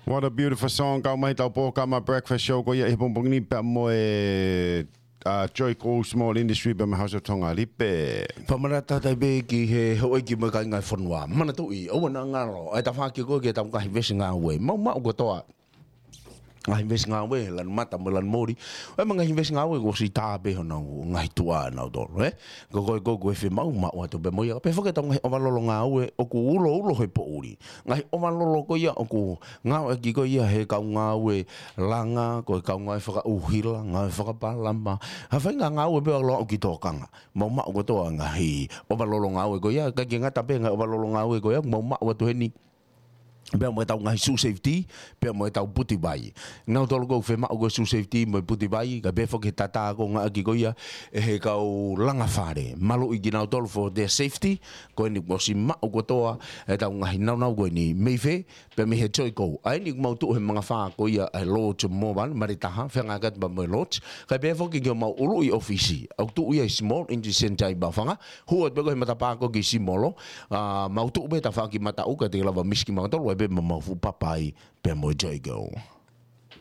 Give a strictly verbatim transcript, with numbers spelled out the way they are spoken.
What a beautiful song. Kau mai tau pō kama breakfast show ko ia ʻi he pongipongi ni pea mo e, uh, Joico Small Industry pea mo e House of Tonga Lipe. Pea mana tatai pē ki he houʻeiki mo e kāinga e fonua. Manatuʻi, ʻoua naʻa ngalo, ʻa e tafaʻaki ko ē ke tau ngaahi veesi ngāue. Mau maʻu kotoa ngaahi veesi ngāue, lanu mata mo e lanu moli. ʻE ma ngaahi veesi ngāue kuo ʻosi tā pē honau ngaahi tuʻa ʻanautolu, ē? Ko koe ko ē ʻoku ke fiemaʻu, maʻu atu pē mo ia. Pea foki ʻetau ngaahi ʻovalolo ngāue ʻoku uloulo he poʻuli. Ngaahi ʻovalolo ko ia ʻoku ngāueʻaki ko ia he kau ngāue langa, ko e kau ngāue fakaʻuhila, ngāue fakapalama. Ha faʻahinga ngāue pē ʻoku ʻalu ki tōkanga. Mau maʻu kotoa ngaahi ʻovalolo ngāue ko ia, ʻikai ke ngata pē ngaahi ʻovalolo ngāue ko ia, mau maʻu atu heni pea mo ʻetau ngaahi shoe safety, pea mo ʻetau puti vai. Nautolu ʻoku fiemaʻu ko e shoe safety mo e puti vai, kae pehē foki he tatā ʻoku ngāueʻaki ko ia ʻe he kau langa fale. Maluʻi kinautolu for their safety, ko eni kuo ʻosi maʻu kotoa ʻetau ngaahi nāunau ko eni mei fē, pea mei he Joico. ʻA eni ʻoku mau tuʻu he mangafā ko ia ʻa e Lodge Morvan, Malē Taha, feangai atu pea mo e Lodge. Kae pehē foki ki homau ʻuluʻi ʻōfisi, ʻoku tuʻu ia ʻi Small Industry Centre ʻi Maʻufanga, hū atu pē ko ē he matapā ko ē ki Simolo, ʻa, mau tuʻu pē tafaʻaki mataʻu ka te lava misi kimautolu, ʻai pē ma mau fuʻu papa ai pea mo e Joico.